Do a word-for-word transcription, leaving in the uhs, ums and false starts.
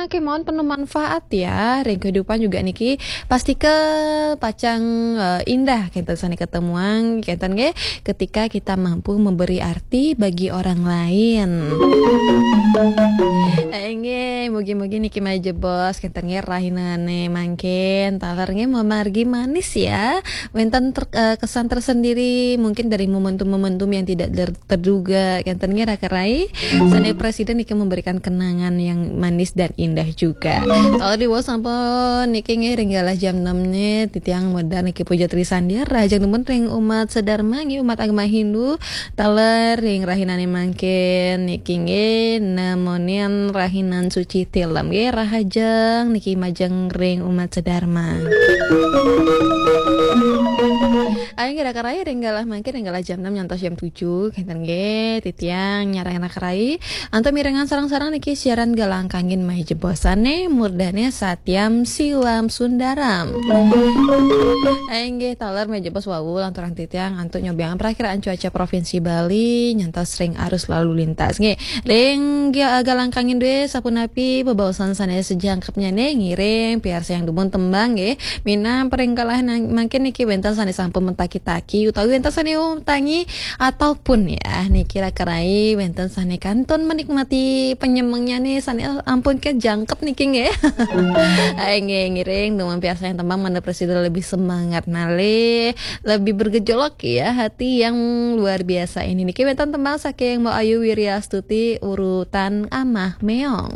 Oke, mohon penuh manfaat ya. Ring kehidupan juga niki pasti ke pacang eh, indah kenten sane ketemuan kenten nggih, ketika kita mampu memberi arti bagi orang lain. Eh, nggih, mugi-mugi niki majebos kenten nggih rahinane mangkin taler nggih memargi manis ya. Wenten ter- eh, kesan tersendiri mungkin dari momentum-momentum yang tidak ter- terduga kenten nggih Raka Rai. Sane presiden niki memberikan kenangan yang manis dan indah juga. Kalau di sampun niki nggih ring galah jam enam ne titiang medal niki puja Trisandya rahajeng nuwun ring umat sedharma nggih umat agama Hindu taler ring rahinane mangkin niki nggih nemonin rahinan suci tilem nggih rahajeng niki majeng ring umat sedharma. Ayo nggih Raka Rai ring galah mangkin ring galah jam enam nyantos jam tujuh kenten nggih titiang nyarang Raka Rai antuk mirengang sareng-sareng niki siaran Galang Kangin majebosane murdane Satyam Siwam Sundaram. Ayo nggih taler majebos wau lanturang titiang antuk nyobiang perakiraan cuaca Provinsi Bali nyantos ring arus lalu lintas nggih. Ring Ga- Galang Kangin duwe sapunapi bebaosan sane sejangkepnyane ngiring piarsayang dumun tembang nggih. Minang pering galah nang- mangkin niki wenten sane sampun mentaki-taki utawi wenten sane tangi ataupun ya niki Raka Rai wenten sane kantun menikmati penyemengnya nih sane ampun ke jangkep niki nggih. Ayo nggih ngiring dengan biasa yang tembang mana presiden lebih semangat malih, lebih bergejolak ya hati yang luar biasa ini niki wenten tembang saking Mbak Ayu Wiryastuti urutan Amah Meong.